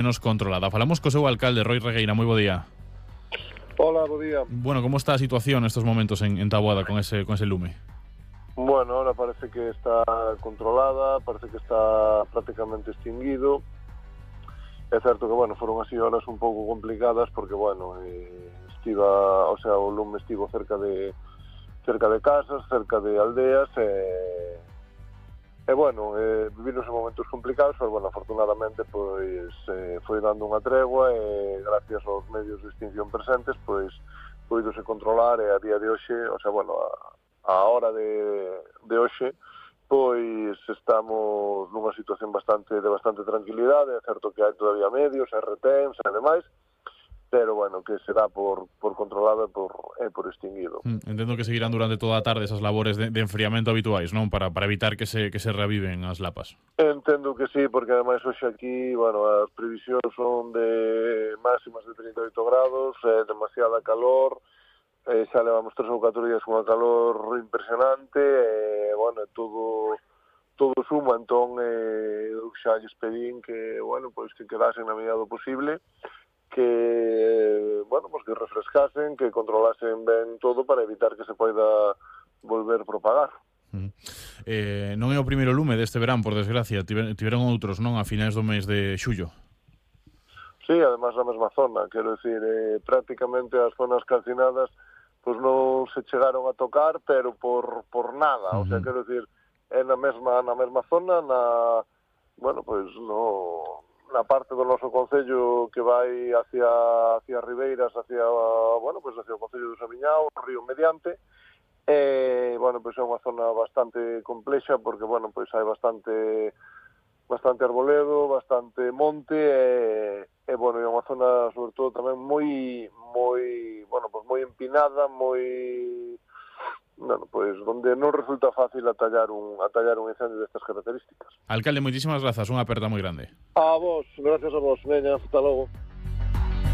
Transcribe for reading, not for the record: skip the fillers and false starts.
menos controlada. Falamos co seu alcalde, Roi Regueira, moi bo día. Hola, bo día. Bueno, como está a situación nestos momentos en Taboada con ese lume? Bueno, ahora parece que está controlada, parece que está prácticamente extinguido. É certo que, bueno, foron así horas un pouco complicadas porque, bueno, o lume estivo cerca de casas, cerca de aldeas bueno, vivironse momentos complicados, pero, bueno, afortunadamente, pois, foi dando unha tregua e, gracias aos medios de extinción presentes, pois, poidose controlar e a día de hoxe, bueno, a hora de hoxe, pois, estamos nunha situación de bastante tranquilidade. É certo que hai todavía medios, RTMs e demais, pero, bueno, que será por controlado e por extinguido. Entendo que seguirán durante toda a tarde esas labores de enfriamento habituais, non? Para evitar que se reaviven as lapas. Entendo que sí, porque ademais hoxe aquí, bueno, as previsións son de máximas de 38 grados, demasiada calor, xa levamos 3 ou 4 días con unha calor impresionante, bueno, todo suma, entón eu xa lles pedín que, bueno, pois que quedasen na medida do posible, que, bueno, pues que refrescasen, que controlasen ben todo para evitar que se poida volver propagar. Non é o primeiro lume deste verán, por desgracia. Tiveron outros, non? A finais do mes de xullo. Sí, además na mesma zona, quero dicir, prácticamente as zonas calcinadas pues non se chegaron a tocar, pero por nada, o sea, quero dicir, é na mesma zona, bueno, pues na parte do noso concello que vai hacia Ribeiras, bueno, pues hacia o concello do Samiñao, o río Mediante. Bueno, pues é unha zona bastante complexa porque, bueno, pues hai bastante arboledo, bastante monte bueno, é unha zona sobre todo tamén moi bueno, pues moi empinada, bueno, pues donde non resulta fácil atallar un incendio destas características. Alcalde, moitísimas grazas, unha aperta moi grande. A vos, gracias a vos, veña, hasta logo.